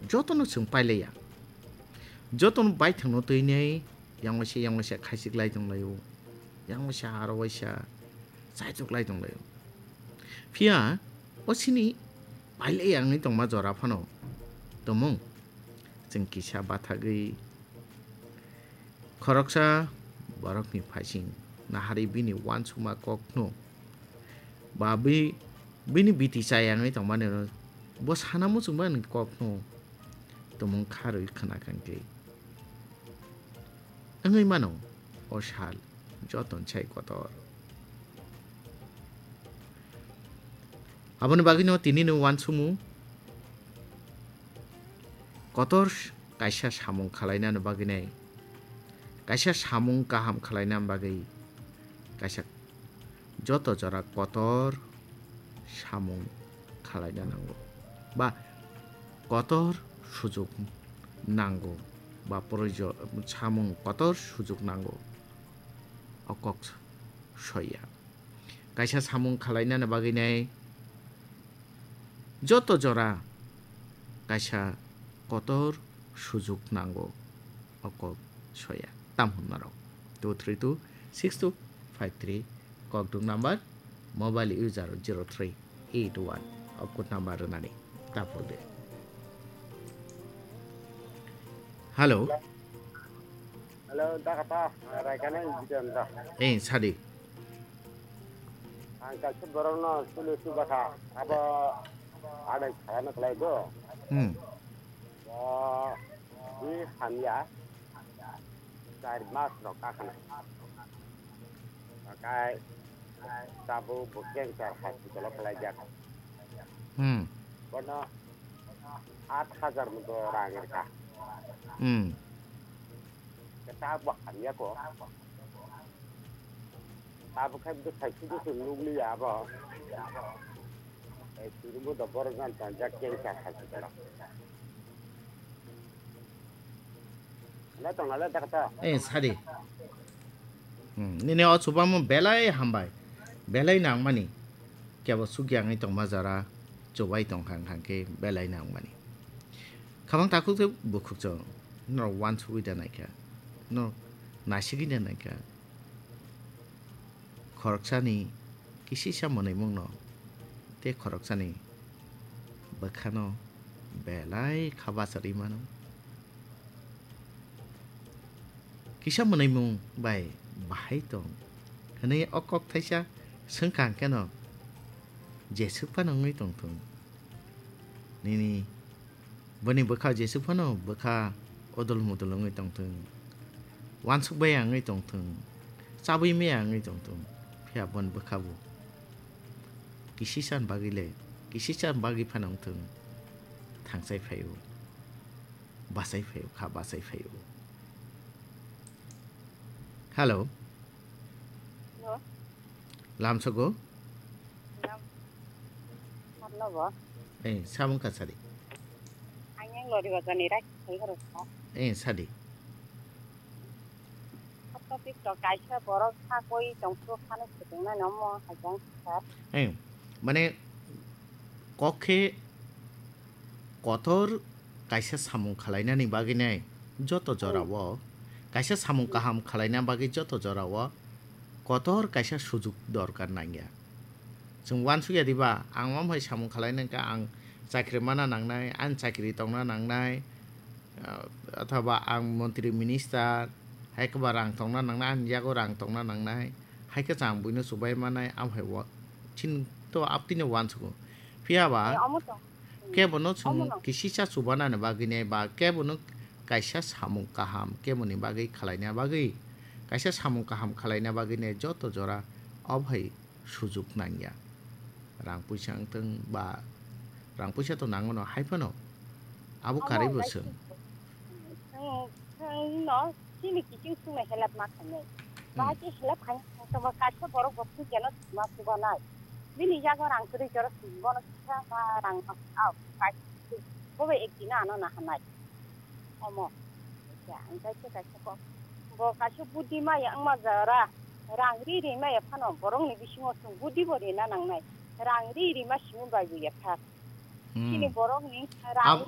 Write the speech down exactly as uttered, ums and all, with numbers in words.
Jotono chwng pailaiya. Jotono baithangno twinai yang waisa yang waisa khaichik lai tong laio. Yang waisa aro waisa chaichuk lai tong laio. Phiya o sini pailaiya wngwi tongma jora phano tumung chwng kisa bathagwi khoroksa borokni phaising naharwi bini uansukma kokno ba bi-, bini biti chayangwi tongmani bo sana muchungmani kokno tumung kharwi khna kangkhe. Wngwi mano o sal joton sai kotor. Aboni bagwino tinino uansukmung kotor kaisa samung khalainani bagwinai, kaisa samung kaham khalainani bagwi kaisa joto jora kotor samung khalaina nango ba kotor sujuk nango ba proyojo-, samung kotor sujuk nango. O kok soya. Kaisa samung khalainani bagwinai joto jora kaisa kotor sujuk nango. O kok soya. Tam hwnarok two three two six two five three kokduk number, mobile user zero three eight one. O code number rwnani tapol de. Hello. Hello, dakata, Raikana Jitendra. Eh, sadi. Ang kaisa borokno sulu subakha, abo adai khalano khlai do. Hmm. Bo, di hamya, char mas rok kakhana. Bakai, tabuk bo cancer hospital o khlai jak. Hmm. Bono aat hajar mo do rang rwkha. Hmm. Tabuk hamya ko. Tabuk khai bwsai sudu se nukliya abo. Ei, suru bo do borok jan tonjak cancer hospital o. Wngkha tongna le dakta. Eh, sadi. Hmm, nini o chubamo belai hambai. Belai nangmani. Kebo sukya wngwi tongma jora chubai tongkha wngkha khe belai nangmani. Khabang takhuk tei bukhuk chwng norok uansugwi da naikha. Norok naisigwi da naikha. Khoroksani kisisa mwnwimungno tei khoroksani bwkhano belai kha bachari mano. Kisa mwnwimung bai bahai tong hwnwi o kok thaisa swngkha hwnkhe no jeswk phano wngwi tongthung. Nini Boni bwkha jeswk phano bwkha odol modol wngwi tongthung, uansuk bai wngwi tongthung, chabwi maya wngwi tongthung, phiya boni bwkha bo kisisa ni bagwi le, kisisa ni bagwi phano wngthung, thangchai phaio, bachai phaio, kha bachai phaio. Hello. Hello. Lamsogo? Lam-, Marlo bo? Eh, samung kasari. Ang yang lori bazar ni rai, sai horo sa. Eh, sadi. Topic to kaisa borok sakoi tongphuru phano swtwngna nomo hajang sir. Eh, mane kok khe kotor kaisa samung khalainani bagwi nai joto jorao, kaisa samung kaham khalaina bagwi joto jorao kotor kaisa sujuk dorkar nangya. Chwng uansukya diba, ang omo hai samung khalaina hwnkhe ang chakri mana nangnai, ang chakri tongna nangnai, ah, othoba ang montri minister, hai khe ba rang tongna nangnai, ang yago rang tongna nangnai, hai khe chwng buino chubai manai, amo hai o chini to aptwino uansugo. Phiya ba, eh, omo to. Kebono chwng omo no kisisa chubanani bagwi nai ba kebono kaisa samung kaham keboni bagwi khalaina bagwi, kaisa samung kaham khalaina bagwi nai joto jora obo hai sujuk nangya. Rang puisa wngthung ba rang puisa to nangono hai phano abo karwi bo chwng. Chwng, chwng no chini kiching swngnai help ma khainai. Hmm. Bahai khe help khaina tongma kaisa borok bo thwikya no thwima chubanai. Bini yago rang kwrwi jora thwima bono kisa ma rang ma, ah, kaisa bo bai ek dina ano nahanai. Omo. Kaisa, ang kaisa kaisa kok. Bo kaisa budi maya wngma jora rang ri ri maya phano borokni bisingo chwng budi bo rina nangnai. Rang ri ri ma simi bai bo yapha. Hmm. Chini borokni rang ri